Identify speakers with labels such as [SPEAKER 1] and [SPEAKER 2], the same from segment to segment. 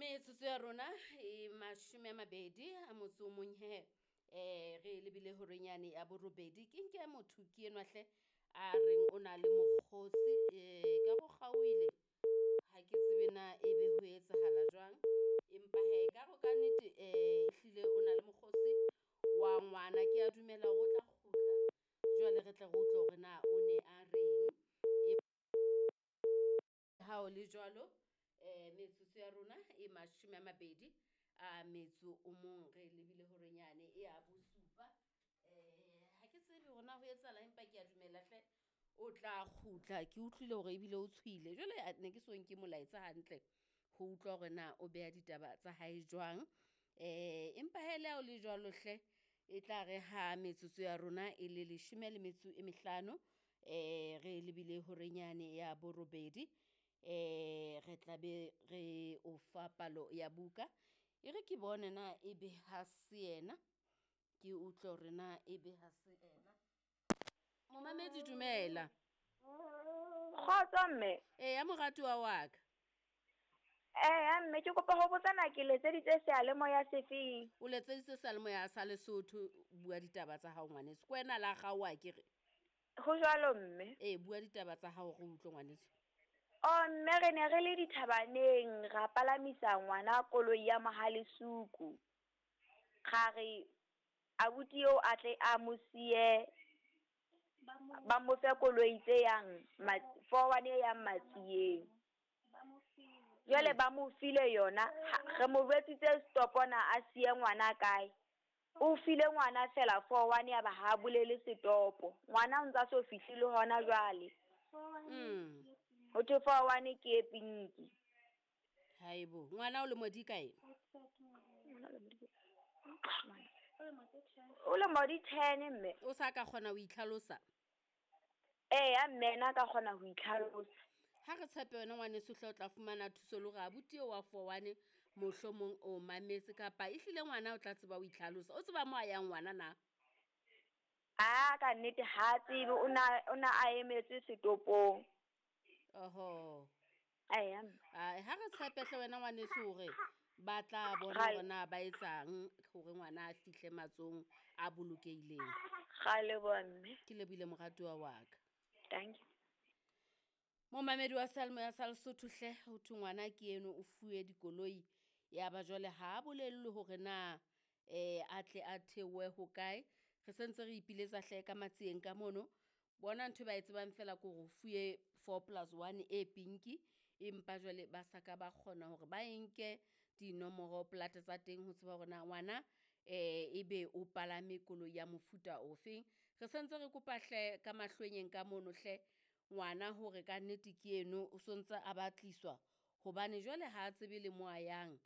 [SPEAKER 1] Metsotso ya rona e 21 he, re lebile horeng yane ya borobedi. Ke nke motho ke enwa hle a reng o na le mokgosi, ka go kgaohile, ha ke tsebe na ebe ho etsahala jwang, empa hee ka re ka nnete ehlile o na le mokgosi wa ngwana. Ke a dumela hore o tla kgutla jwale re tle re utlwe hore na o ne a reng. Ha o le jwalo, metsotso ya rona e 21, re lebile horeng yane ya bosupa. Ha ke tsebe hore na ho etsahala, empa ke a dumela hle o tla kgutla. Ke utlwile hore ebile o tshohile. Jwale ne ke so nke molaetsa hantle ho utlwa hore na o beha ditaba tsa hae jwang. Empa he le ha o le jwalo hle, e tla re ha metsotso ya rona e le 15, re lebile horeng yane ya borobedi, re tla be re o fa palo ya buka. E re ke bone na ebe ha se yena, ke utlwe hore na ebe ha se ena. Momamedi, dumela.
[SPEAKER 2] Kgotso mme.
[SPEAKER 1] Eya moratuwa wa ka.
[SPEAKER 2] Eya mme, ke kopa ho botsa na ke letseditse seyalemoya se feng?
[SPEAKER 1] O letseditse seyalemoya sa Lesotho, bua ditaba tsa hao ngwaneso. Ke wena la kgaoha akere?
[SPEAKER 2] Ho jwalo mme.
[SPEAKER 1] Ee, bua ditaba tsa hao re utlwe ngwaneso.
[SPEAKER 2] Oh mme, re ne re le dithabaneng, ra palamisa ngwana koloi ya Mohalesuku. Ra re abuti eo a tle a mo siye, ba mo fe koloi tse yang 41 e yang Matsieng. Jwale ba mo file yona, re mo jwetsitse stopona a siye ngwana kae. O file ngwana fela 41 ya ba ha bolele setopo. Ngwana o ntsa so fihlile hona jwale. Ho thwe 41 ke e pinki.
[SPEAKER 1] Haebo, ngwana o le modi kae?
[SPEAKER 2] O le modi 10 mme.
[SPEAKER 1] O sa ka kgona ho itlhalosa?
[SPEAKER 2] Eya mme, nna ka kgona ho itlhalosa.
[SPEAKER 1] Ha re tshepe wena ngwaneso hle o tla fumana thuso le hore abuti eo wa 41 mohlomong o mametse, kapa ehlile ngwana o tla tseba ho itlhalosa. O tseba mo a yang ngwana na?
[SPEAKER 2] A ka nnete ha tsebe, o na a emetse setopong.
[SPEAKER 1] Oho.
[SPEAKER 2] Eya.
[SPEAKER 1] Ha re tshepe hle wena ngwaneso hore ba tla bona hore na ba etsang hore ngwana a fihle matsohong a bolokehileng.
[SPEAKER 2] Ra leboha mme.
[SPEAKER 1] Ke lebohile moratuwa wa ka.
[SPEAKER 2] Thank you.
[SPEAKER 1] Momamedi wa seyalemoya sa Lesotho hle, ho thwe ngwana ke eno o fuwe dikoloi, ya ba jwale ha a bolellwe hore na a tle a theohe ho kae. Re sentse re ipiletsa hle ka Matsieng ka mono. Bona ntho e ba e tsebang fela ke hore o fuwe 4+1 e pinki, empa jwale ba sa ka ba kgona hore ba e nke dinomoro plate tsa teng ho tseba hore na ngwana ebe o palame koloi ya mofuta ofeng. Re sentse re kopa hle ka mahlwenyeng ka mono hle ngwana hore ka nnete ke eno o sontse a batliswa, hobane jwale ha a tsebe le mo a yang,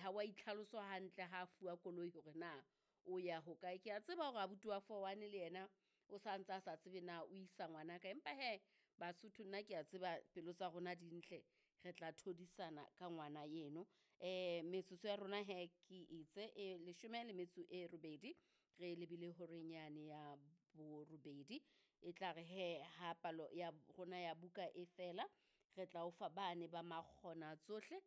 [SPEAKER 1] ha wa itlhaloswa hantle ha a fuwa koloi hore na o ya ho kae. Ke a tseba hore abuti wa 41 le yena o sa ntse a sa tsebe na o isa ngwana kae, empa he Basotho nna ke a tseba pelo tsa rona di ntle, re tla thodisana ka ngwana eno. Metsotso ya rona he ke itse e 18, re lebile horeng yane ya borobedi. E tla re he ha palo ya rona ya buka e fela, re tla o fa bane ba makgona tsohle.